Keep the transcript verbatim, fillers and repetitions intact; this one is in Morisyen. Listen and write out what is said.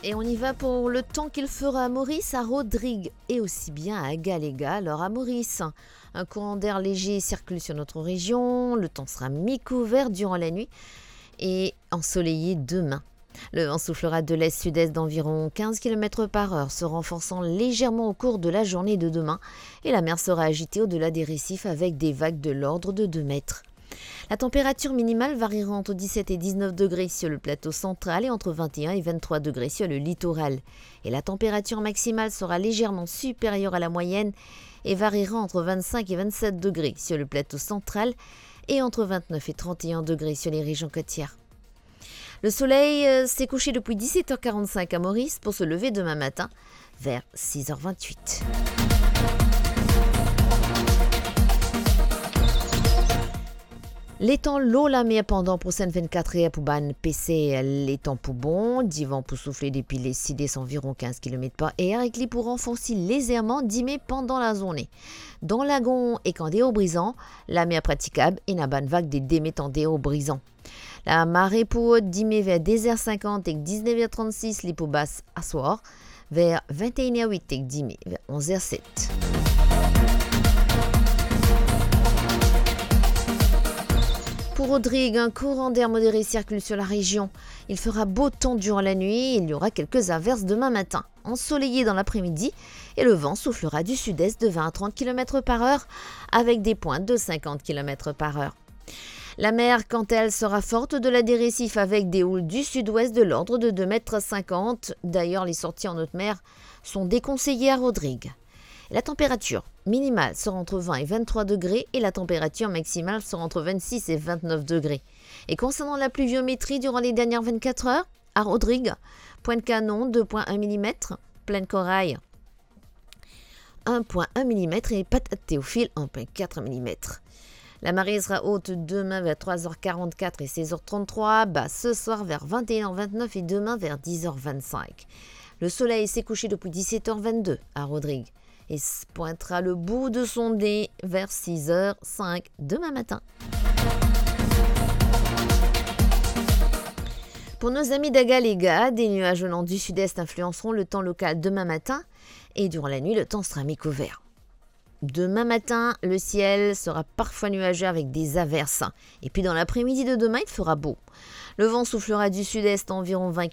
Et on y va pour le temps qu'il fera à Maurice, à Rodrigues et aussi bien à Galega. Alors à Maurice, un courant d'air léger circule sur notre région. Le temps sera mi-couvert durant la nuit et ensoleillé demain. Le vent soufflera de l'est-sud-est d'environ quinze kilomètres par heure, se renforçant légèrement au cours de la journée de demain, et la mer sera agitée au-delà des récifs avec des vagues de l'ordre de deux mètres. La température minimale variera entre dix-sept et dix-neuf degrés sur le plateau central et entre vingt et un et vingt-trois degrés sur le littoral. Et la température maximale sera légèrement supérieure à la moyenne et variera entre vingt-cinq et vingt-sept degrés sur le plateau central et entre vingt-neuf et trente et un degrés sur les régions côtières. Le soleil, euh, s'est couché depuis dix-sept heures quarante-cinq à Maurice pour se lever demain matin vers six heures vingt-huit. Letan lor lamer pandan prosenn vennkat er pou bann peser, letan pou bon, divan pou soufle depi le sid-est anviron quinze kilomètres par heure ek li pou ranforsi lezerman dime pandan lazorne. Dan lagon ek andeor Brizan, lamer pratikab, ena bann vag de de met andeor Brizan. Lamare pou rod dime ver de er sinkant ek diznev er trannsis, li pou bas aswar ver vinte-e-enn er wit ek dime ver onz er set. Pour Rodrigues, un courant d'air modéré circule sur la région. Il fera beau temps durant la nuit, il y aura quelques averses demain matin. Ensoleillé dans l'après-midi et le vent soufflera du sud-est de vingt à trente kilomètres par heure avec des pointes de cinquante kilomètres par heure. Lamer, kant a el, sera forte au-delà des récifs avec des houles du sud-ouest de l'ordre de deux mètres cinquante. D'ailleurs, les sorties en haute mer sont déconseillées à Rodrigues. La température minimale sera entre vingt et vingt-trois degrés et la température maximale sera entre vingt-six et vingt-neuf degrés. Et concernant la pluviométrie durant les dernières vingt-quatre heures, à Rodrigues, Pointe-Canon, deux point un millimètres, Plaine-Corail, un point un millimètre et Patate-Théophile, un point quatre millimètre. La marée sera haute demain vers trois heures quarante-quatre et seize heures trente-trois, basse ce soir vers vingt et une heures vingt-neuf et demain vers dix heures vingt-cinq. Le soleil s'est couché depuis dix-sept heures vingt-deux à Rodrigues et s-, pointera le bout de son nez vers six heures cinq demain matin. Pour nos amis d'Agalega, des nuages venant du sud-est influenceront le temps local demain matin et durant la nuit, le temps sera mi-couvert. Demain matin, le ciel sera parfois nuageux avec des averses. Et puis dans l'après-midi de demain, il fera beau. Le vent soufflera du sud-est à environ vingt